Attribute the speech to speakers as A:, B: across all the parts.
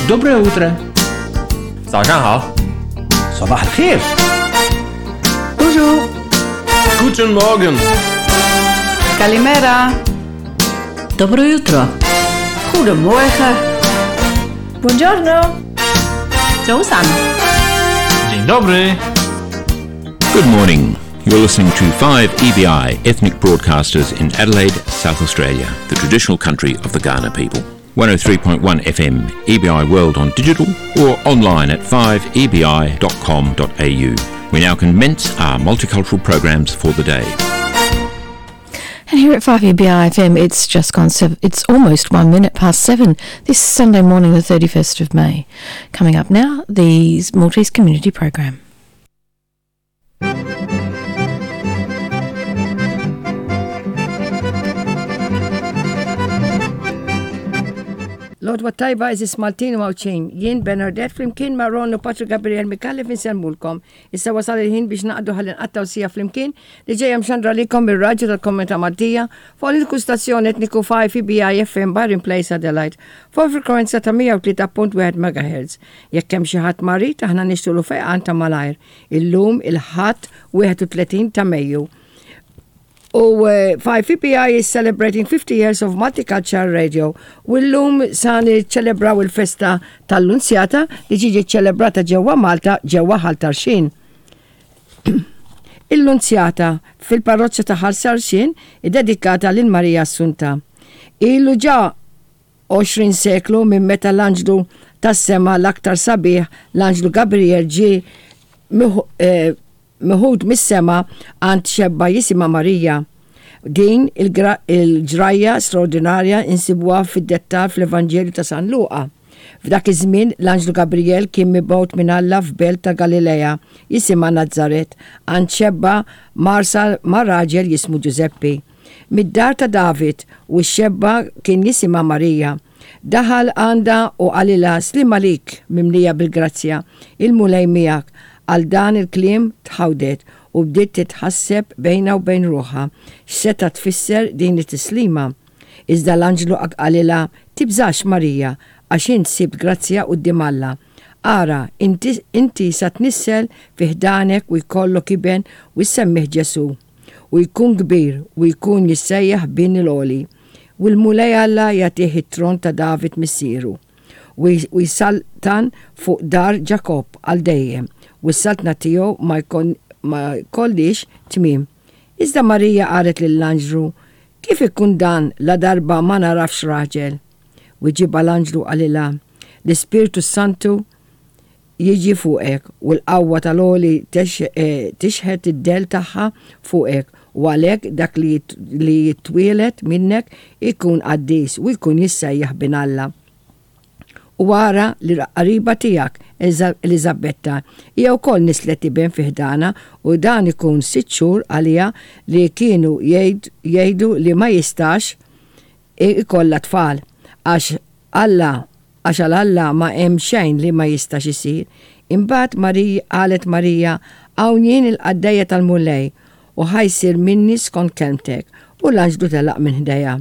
A: Доброе утро.
B: 早上好。
A: صباح الخير.
C: Bonjour.
B: Guten Morgen.
C: Kalimera.
D: Dobro jutro.
C: Goedemorgen.
E: Buongiorno.
D: 早晨，
B: Dzień dobry.
F: Good morning. You're listening to 5EBI Ethnic Broadcasters in Adelaide, South Australia, the traditional country of the Ghana people. 103.1 FM, EBI World on digital or online at 5ebi.com.au. We now commence our multicultural programs for the day.
G: And here at 5EBI FM, it's just gone seven. It's almost 7:01 this Sunday morning, the 31st of May. Coming up now, the Maltese Community Program.
H: L-għodwa t-tajba għeżież Maltin u Għawdxin, jien Bernardette flimkien ma' Ron u Patri Gabriel Micallef insellmulkom. Issa wasal il-ħin biex naqdu ħalli nqattgħu siegħa flimkien li ġejja mxandra lilkom mir-Radju tal-Komunità Maltija fuq l-uniku stazzjon etniku 5 EBI FM Byron Place Adelaide fuq il-frekwenza ta' 103.1 MHz. Jekk hemm xi ħadd marid aħna nixtulu fejqan ta' malajr. Illum il-Ħadd 31 ta' Mejju. U 5EBI is celebrating 50 years of multicultural radio u llum sa niċċelebraw il-festa tal-Lunzjata li ġiġi ċelebrata ġewwa Malta ġewwa Ħal Tarxien. Il-Lunzjata fil-parroċċa ta' Ħal Tarxien iddedikata lil Marija Assunta. Ilu ġa 20 seklu minn meta l-anġlu tas-sema l-aktar sabiħ, l-anġlu Gabriel ġie meħud mis-sema għand xebba jisimha Marija. Din il-ġrajja straordinarja insibuha fid-dettal fl-Evanġelju ta' San Luqa. F'dak iż-żmien l-anġlu Gabriel kien mibgħut minn Alla f'belt ta' Galilea jisimha Nazaret għand xebba mgħarsa ma' raġel jismu Ġużeppi. Mid-dar ta' David u x-xebba kien jisimha Marija. Daħal għandha u qalilha, Sliem għalik, mimlija bil-grazzja, il-Mulej miegħek. Għal dan il-kliem tħawdet u bdiet titħasseb bejnha u bejn ruħha x'seta' tfisser din it-tislima. Iżda l-anġlu qalilha, Tibżax, Marija, għax int sibt grazzja quddiem Alla. Ara, inti, inti sa tnissel fi ħdanek u jkollok iben u ssemmih Ġesù. U jkun kbir u jkun jissejjaħ Bin il-Għoli. U l-Mulej Alla jagħtih it-tron ta' David missieru. U jsaltan fuq dar Ġakobb għal dejjem, u s-saltna tiegħu ma jkollhiex tmiem. Iżda Marija qalet lill-anġlu, Kif ikun dan ladarba ma nagħrafx raġel? Wiġibha l-anġlu qalilha, L-Ispirtu s-Santu jiġi fuqek, u l-qawwa tal-Għoli tixħet id-dell tagħha fuqek, u għalhekk dak li jitwieled minnek ikun qaddis u jkun jissejjaħ Bin Alla. U ara li l-qariba tiegħek, Eliżabetta, hija wkoll nislet iben fi ħdanha, u dan ikun sitt xhur għaliha li kienu jgħidu li ma jistax ikollha tfal, għax Alla, għax għal Alla ma hemm xejn li ma jistax isir. Imbagħad Marija, qalet Marija, Hawn jien il-qaddejja tal-Mulej, u ħa jsir minni skont kelmtek. U l-anġlu telaq minn ħdejha.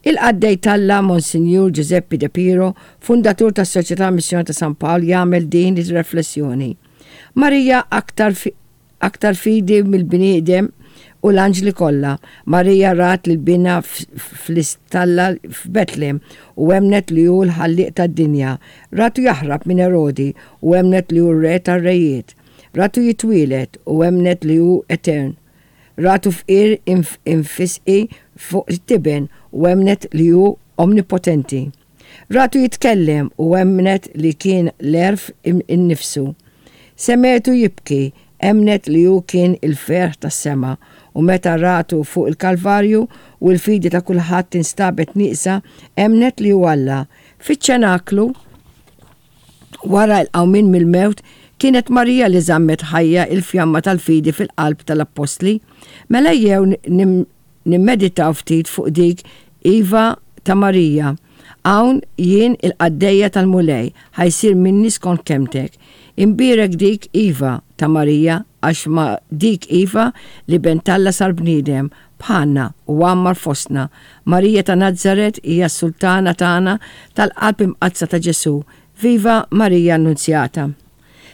H: Il-qaddej t'Alla Monsinjur Giuseppe De Piro, fundatur tas-Soċjetà Missjoni ta' San Pawl jagħmel din ir-reflessjoni, Marija aktar aktar fidi mill-bniedem u l-anġli kollha. Marija rat lil binha fl-istalla f'Betlem u emmnet li hu l-Ħallieq tad-dinja. Ratu jaħrab minn Erodi u emmnet li hu r-Re tar-rejiet. Ratu jitwieled u emmnet li hu etern. Ratu fqir imfisqi fuq it-tiben u emmnet li hu omnipotenti. Ratu jitkellem u emmnet li kien l-għerf innifsu. Semgħetu jibki, emmnet li hu kien il-ferħ tas-sema u meta ratu fuq il-Kalvarju u l-fidi ta' kulħadd instabet nieqsa, emmnet li hu Alla. Fiċ-ċenaklu, Wara l-qawmien mill-mewt, kienet Marija li żammet ħajja l-fjamma tal-fidi fil-qalb tal-appostli. Mela ejjew nimmeditaw ftit fuq dik Iva ta' Marija, Hawn jien il-qaddejja tal-Mulej, ħa jsir minni skont kelmtek. Imbierek dik Iva ta' Marija għax ma' dik Iva l-Iben t'Alla sar bniedem, bħalna, u għammar fostna. Marija ta' Nazaret hija s-Sultana tagħna tal-Qalb Imqaddsa ta' Ġesù. Viva Marija Annunzjata!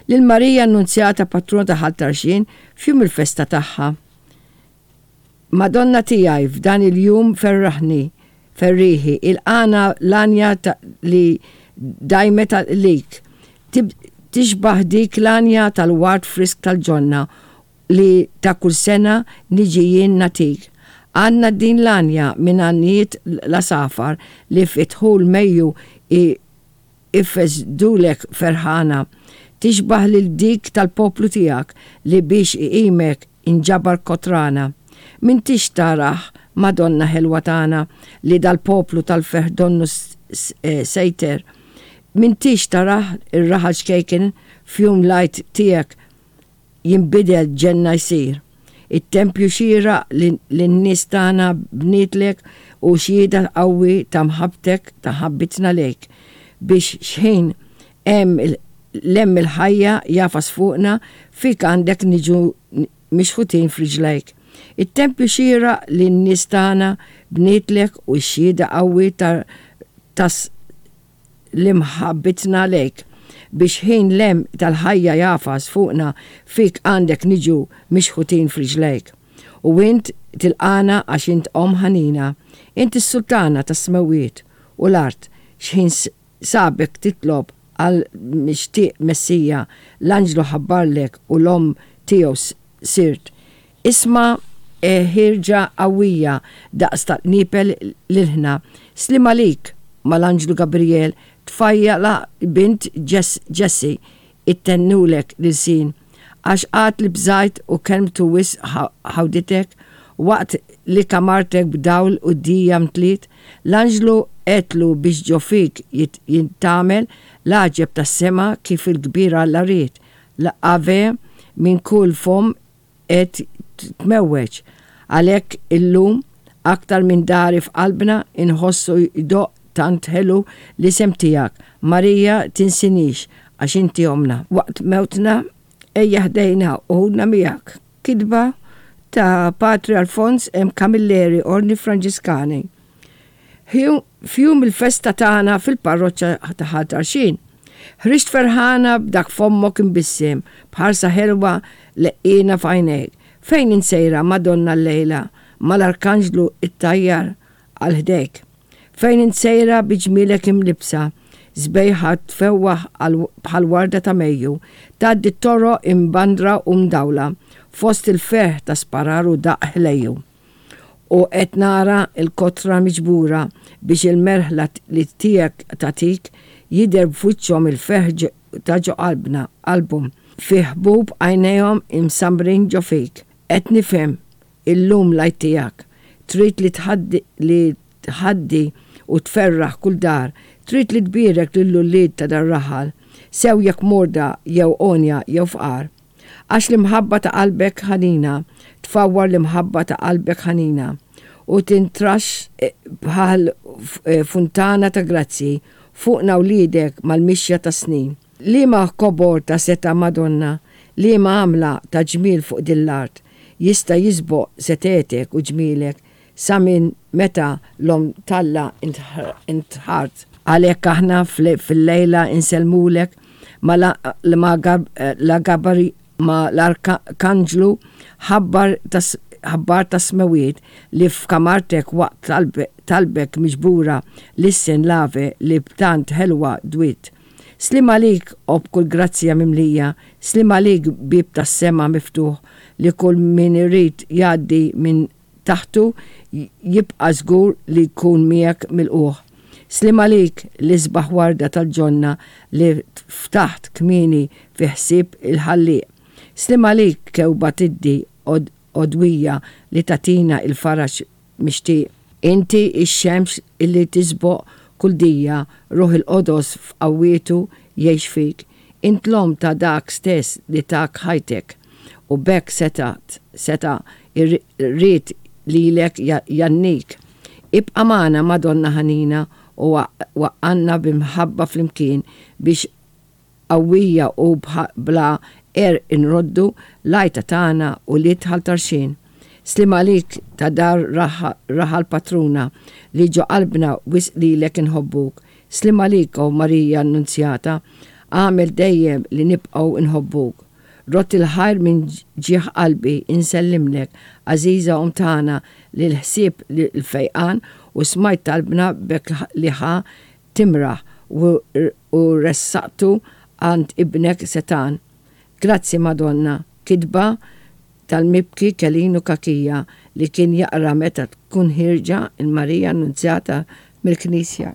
H: Lil Marija Annunzjata Patruna ta' Ħal Tarxien f'jum il-festa tagħha. Madonna tiegħi f'dan il-jum ferraħni, ferrieħi, ilqagħna l-għanja li dajmet għalik. Tixbah dik l-għanja tal-ward frisk tal-ġonna li ta' kull sena niġi jien nagħtik. Għandna din l-għanja minn għanjiet l-għasafar li fi dħul Mejju ifesdulek ferħana. Tixbah lil dik tal-poplu tiegħek li biex iqimek inġabar kotrana. M'intix tarah, Madonna ħelwa tagħna, li dal-poplu tal-ferħ donnu sejter? M'intix tarah ir-raħal ċkejken f'jum l-Għid tiegħek jinbidel ġenna jsir. It-tempju xieraq li n-nies tagħna bnietlek hu xhieda qawwi ta' mħabbtek, ta' mħabbitna lejk, biex xħin hemm l-hemm il-ħajja jagħfas fuqna, fik għandek niġu mixħutin f'riġlejk. It-tempju xieraq li n-nies tagħna bnietlek hu xhieda qawwi ta' l-imħabbitna lejk, biex ħin l-hemm tal-ħajja jagħfas fuqna fik għandek niġu mixħutin f'riġlejk. U int tilqagħna għax int Omm ħanina, int is-Sultana tas-smewwiet u l-art, x'ħin sabek titlob għall-mixtieq Messija, l-anġlu ħabbarlek u l-Omm tiegħu sirt. Isma' ħierġa qawwija daqs tal-qniepel l-ilħna. Sliem għalik, mal-anġlu Gabriel, tfajjala bint Ġessi, ittennulek l-ilsien. Għax għad li bżajt u kelmtu wisq ħawditek, waqt li kamartek b'dawl u dija mtliet, l-anġlu għedtlu biex ġo fik jintgħamel l-għaġeb tas-sema kif il-kbir Alla ried. L-Ave minn kull fomm qed tmewweġ. Għalhekk illum, aktar minn dari f'qalbna inħossu jdoqq tant ħelu l-isem tiegħek, Marija tinsinix għax inti ommna. Waqt mewtna ejja ħdejna u ħudna miegħek. Kitba ta' Patri Alfons M. Camilleri, Ordni Franġiskani. F'jum il-festa tagħna fil-parroċċa ta' Ħal Tarxien. Ħriġt ferħana b'dak fommok imbissem, b'ħarsa ħelwa leqqiena f'għajnejk. Fejn int sejra, Madonna llejla, mal-Arkanġlu ttajjar għal ħdejk? Fejn int sejra bi ġmielek imlibbsa, sbejħa tfewwaħ bħal warda ta' Mejju, tgħaddi t-toroq imbandra u mdawla, fost il-ferħ ta' sparar u daqq ħlejju? U qed nara l-kotra miġbura biex il-merħla li tiegħek tagħtik, jidher f'wiċċhom il-ferħ ta' ġo qalbna, qalbhom, fi ħbub għajnejhom imsammrin ġo fik. Qed nifhem illum l-Għid tiegħek. Trid li tħaddi li tħaddi u tferraħ kull dar, trid li tbierek lill-ulied ta' dar-raħal, sew jekk morda jew għonja jew fqar. Għax l-imħabba ta' qalbek ħanina tfawwar l-imħabba ta' qalbek ħanina u tintraxx bħal funtana ta' grazzji fuqna wliedek mal-mixja tas-snin. Liema kobor ta' setgħa Madonna, liema għamla ta' ġmiel fuq din l-art jista' jisboq setgħetek u ġmielek sa minn meta l-Omm t'Alla intħart. Għalhekk aħna fil-lejla insellmulek ma' l-Arkanġlu ħabbar tas-smewwiet li f'kamartek waqt talbek miġbura lissen l-Ave li b'tant ħelwa dwiet. Sliem għalik, o b'kull grazzja mimlija, sliem għalik bieb tas-sema miftuħ li kull min irid jgħaddi minn taħtu jibqa' żgur li jkun miegħek milqugħ. Sliem għalik, l-isbaħ warda tal-ġonna li ftaħt kmieni fi ħsieb il-Ħallieq. Sliem għalik, kewba tiddi għodwija li tagħtina l-faraġ mixtieq. Inti x-xemx li tisboq kull dija, Ruħ il-Qodos f'qawwietu jgħix fik. Int l-omm ta' dak stess li tak ħajtek. U b'hekk seta' seta' ried lilek jgħannik. Ibqa' magħna, Madonna ħanina, u waqqalna bi mħabba flimkien biex qawwija u bla qerq inroddu l-għajta tagħna ulied Ħal Tarxien. Sliem għalik ta' dar raħal patruna li ġo qalbna wisq lilek inħobbuk. Sliem għalik, O Marija Annunzjata, agħmel dejjem li nibqgħu nħobbuk. Rodd il-ħajr minn ġieħ qalbi insellimlek, għażiża Omm tagħna, li l-ħsieb l-fejqan u smajt talbna b'hekk li ħa timraħ u ressaqtu għand Ibnek setgħan. Grazzi Madonna, kitba tal-mibki Kelinu Cachia li kien jaqra meta tkun ħierġa l-Marija Annunzjata mill-knisja.